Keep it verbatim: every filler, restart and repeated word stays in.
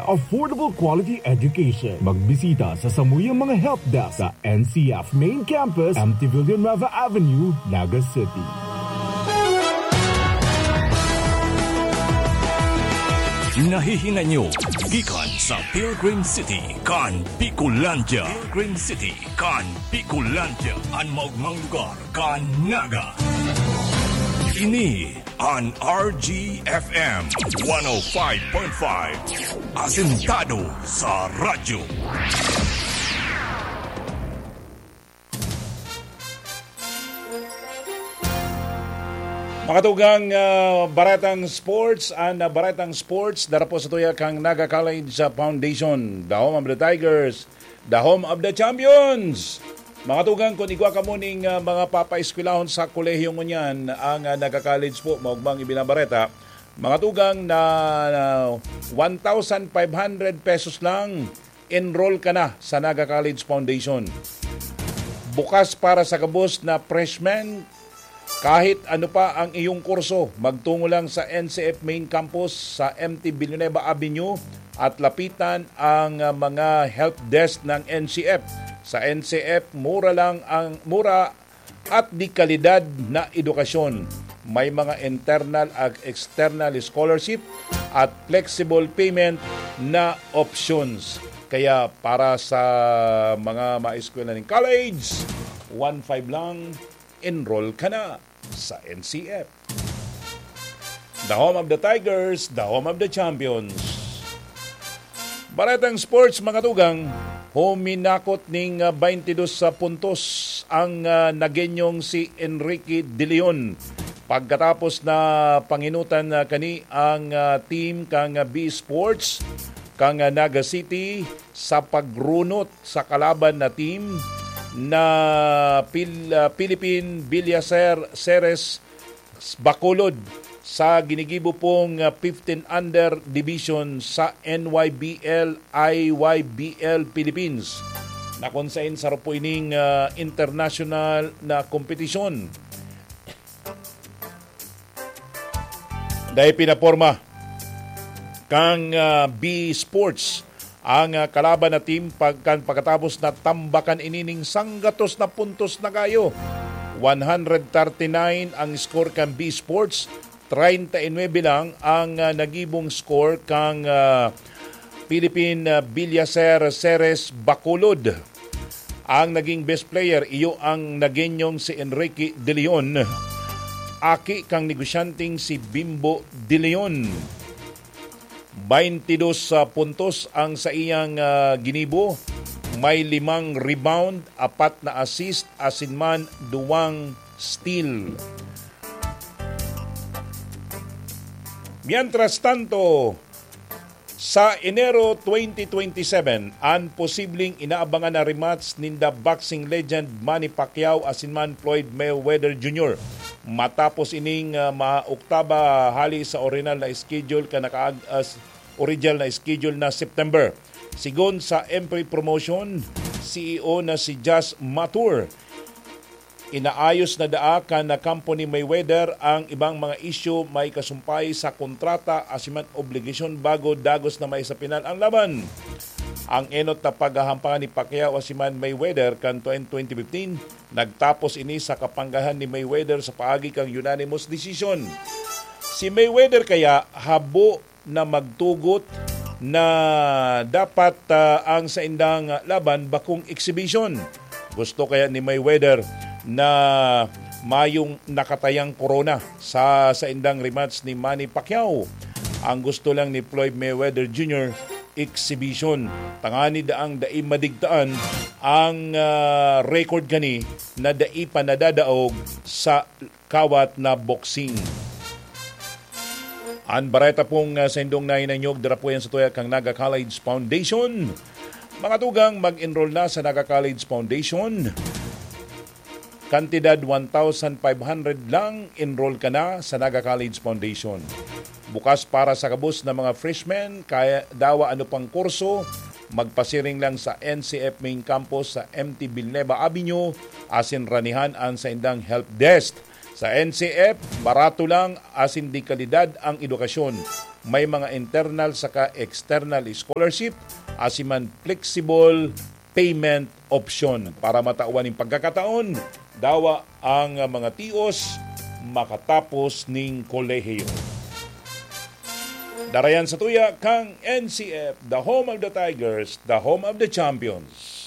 Affordable quality education. Magbisita sa samuyang mga help desk sa N C F Main Campus, M T Villanueva Avenue, Naga City. Nahihingan nyo gikan sa Pilgrim City kan Bicolandia. Pilgrim City kan Bicolandia, an maogmang lugar kan Naga. Ini an R G F M one oh five point five, asentado sa radyo. Mga tugang, ah, baretang sports, an, ah, baretang sports, dara po sa tuya kan Naga College, ah, Foundation, the home of the Tigers, the home of the champions. Mga tugang, kung igwa kamo ning, ah, mga papaeskwelahon sa kolehiyo ngunyan, ang, ah, Naga College po, maugmang ibinabareta, mga tugang, na, na one thousand five hundred pesos lang, enroll ka na sa Naga College Foundation. Bukas para sa gabos na freshman, kahit ano pa ang iyong kurso, magtungo lang sa N C F Main Campus sa M T Villanueva Avenue at lapitan ang, ah, mga help desk ng N C F. Sa N C F, mura lang ang, mura at de kalidad na edukasyon. May mga internal at external scholarship at flexible payment na options. Kaya para sa mga maeskwela ning college, one five lang, enroll ka na sa N C F. The home of the Tigers, the home of the champions. Baretang sports, mga tugang, huminakot ning, ah, twenty-two sa puntos ang, ah, Nagueñong si Enrique De Leon. Pagkatapos na panginutan na kani ang, ah, team kan, ah, B Sports, kan, ah, Naga City sa pagrunot sa kalaban na team na Pil-, ah, Philippine Villacer Ceres Bacolod sa ginigibo pong, ah, fifteen under division sa N Y B L, I Y B L Philippines, na kung sain saro po ining, ah, international na kompetisyon. Dahil pinaporma kang, ah, B Sports ang, ah, kalaban na team pagkan pagkatapos na tambakan ini ning sanggatos na puntos na kayo. One hundred thirty-nine ang score kan B Sports, treinta y nuebe lang ang, ah, nagibong score kang, ah, Philippine, ah, Villacer Ceres Bacolod. Ang naging best player, iyo ang Nagueñong si Enrique De Leon, aki kang negosyanteng si Bimbo De Leon. Baintidos puntos ang saiyang, ah, ginibo. May limang rebound, apat na assist, asin man duwang steal. Mientras tanto, sa Enero twenty twenty-seven, an posibleng inaabangan na rematch ninda boxing legend Manny Pacquiao asin man Floyd Mayweather Junior, matapos ining, ah, maoktaba hali sa orihinal na schedule kan nakaag-, ah, s-, original na schedule na September. Sigon sa Emprey Promotion C E O na si Josh Matur, inaayos na daa kan na kampo ni Mayweather ang ibang mga isyu may kasumpay sa kontrata asin man obligasyon bago dagos na maisapinal ang laban. Ang enot na paghahampangan ni Pacquiao asin man Mayweather kan twenty fifteen, nagtapos ini sa kapanggahan ni Mayweather sa paagi kan unanimous decision. Si Mayweather kaya habo na magtugot na dapat, ah, ang saindang laban bakong exhibition. Gusto kaya ni Mayweather na mayong nakatayang korona sa saindang rematch ni Manny Pacquiao. Ang gusto lang ni Floyd Mayweather Junior, exhibition. Tangani daang dai madigtaan ang, ah, record kani na dai pa nadadaog sa kawat na boxing. An bareta pong, ah, saindong nahinanyog dira po yan sa tuya kang Naga College Foundation. Mga tugang, mag-enroll na sa Naga College Foundation. Kantidad one thousand five hundred lang, enroll ka na sa Naga College Foundation. Bukas para sa gabos na mga freshmen, kaya dawa ano pang kurso, magpasiring lang sa N C F main campus sa M T Vilneva Avenue, asin ranihan an saindang help desk. Sa N C F, barato lang asin de kalidad ang edukasyon. May mga internal saka external scholarship, asin man flexible payment option. Para matawan nin pagkakataon, dawa ang mga tios makatapos ning kolehiyo. Darayan sa tuya kang N C F, the home of the Tigers, the home of the champions.